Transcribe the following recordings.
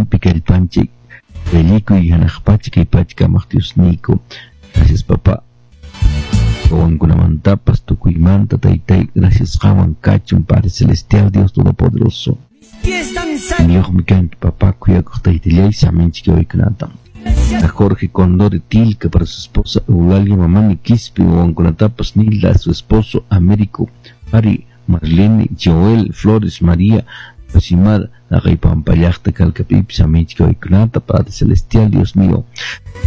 Iñiyninpi kallpanchik Wellikuy hanaq pacha kay pacha kamaq Diosniyku. Gracias, papá. Wawankunamantapas tukuymanta taytay gracias qanwan kachun Padre Celestial, Dios Todopoderoso. Niyuqmi kanki, papá, kuyakuq taytallay saminchik waykunata. A Jorge Condori Tilca para su esposa Eulalia Mamani Quispe, wawankunatapas Nilda, su esposo Américo, Ari, Marlene, Joel, Flores, María, Rosimar, Pampallaqta Calcapipi saminchik waykunata, Padre Celestial, Dios mío.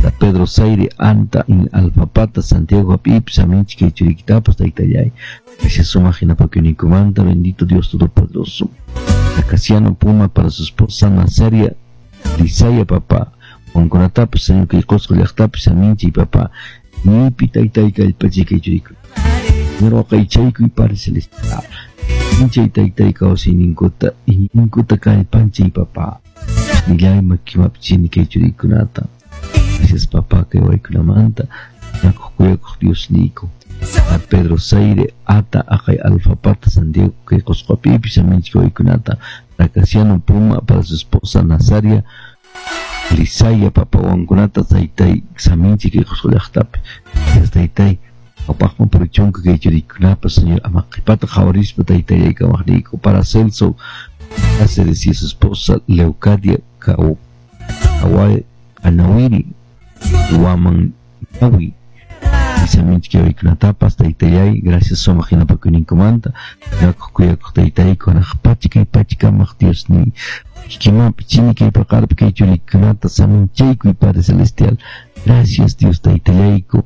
A Pedro Zaire, Anta, in Alfapata, Santiago Apipi, saminchik kay churikitapas taytallay. Gracias sumaq hinapakuyninkumanta, bendito Dios Todopoderoso. A Casiano Puma para su esposa Nazaria, Lisaya, papá. Wawankunatapas, Señor, kay Qusqu llaqtapi saminchik, papá. Ñipi taytay kallpachik kay churiku. Señor, waqaychaykuy Padre Celestial. Inchay taytay kawsayninkuta, iñiyninkuta kallpanchay, papá. Nillay makimapchini kay churikunata. Gracias, papá, kay waykunamanta. Yakuq kuyakuq Diosniyku. A Pedro Zaire, Ata, Aqay Alfapata, Santiago, kay Qusqupipi saminchik waykunata. A Casiano Puma para su esposa Nazaria, Lisaya, papá, wawankunata taytay saminchik kay Qusqu llaqtapi. Gracias, taytay. Apaqman purichunka kay churikunapas, Señor, ama qhipata qhawarispa taytallay kamaqniyku. Para Celso Cáceres y su esposa Leucadia Anawiri Waman Yawi saminchik waykunatapas taytallay gracias sumaq hinapakuyninkumanta kuyakuq kuyakuq taytayku hanaq pacha kay pacha kamaq Diosniy kikimanpi chini kay paqarpi kay churikunata saminchaykuy Padre Celestial. Gracias, Dios taytallayku.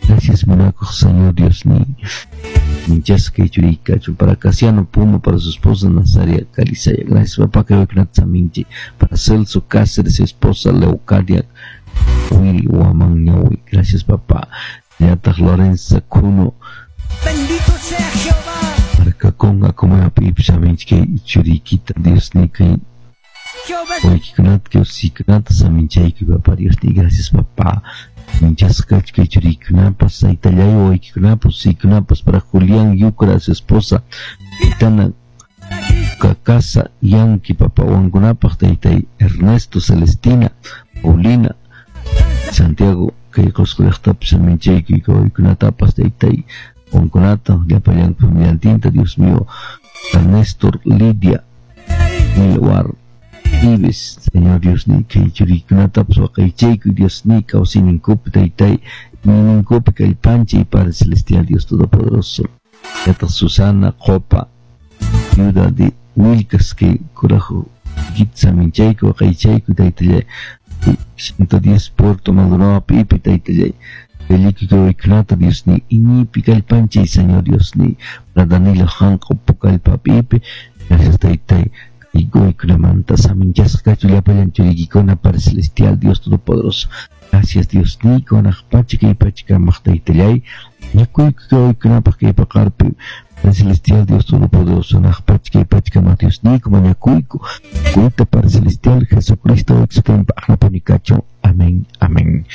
Gracias, munakuq Señor Diosniy. Minchasqa kay churiyki kachun. Para Casiano Puma, para su esposa Nazaria Calizaya. Gracias, papá, kay waykunata saminchi. Para Celso Cáceres, su esposa Leucadia Wiri Waman Ñawi. Gracias, papá. Yataq Lorenza Kuno. Bendito sea Jehová. Para Kakonga como apipi saminchik kay churiykita Diosniy kay Jehová es waykikunata kay usikunata saminchaykuy papá Diosniy. Gracias, papá. Minchasqa kay churiykunapas taytallay waykikunapas usikunapas para Julián Yucra, su esposa Gitana Kakasa Yanqui, papá, wawankunapaq taytay Ernesto, Celestina, Paulina, Santiago kay Qusqu llaqtapi saminchaykuy waykunatapas taytay wawankunata llapallanku familiantinta Dios mío. Néstor, Lidia, Milwar Ives, Señor Dios ni kay churiykunatapas waqaychaykuy Dios ni kawsayninkupi taytay iñiyninkupi kallpanchay Padre Celestial, Dios Todopoderoso. Yataq Susana Qopa, viuda de Wilcas kay kuraju saminchaykuy waqaychaykuy taytallay 110 Puerto Maldonado pipi taytallay Pelikuy waykunata Dios ni iñiypi kallpanchay Señor Dios ni para Danilo Hanqo Pucallpa pipi. Gracias, taytay waykunamanta saminchasqa kachun llapallan churiykikuna Padre Celestial, Dios Todopoderoso. Gracias, Dios niyku hanaq pacha kay pacha kamaq taytallay ñakuyku kay waykunapaq kay paqarpi Padre Celestial, Dios Todopoderoso hanaq pacha kay pacha kamaq Dios niyku mañakuyku kuyta Padre Celestial Jesucristo sutinpa aqnapuni kachun. Amén, amén.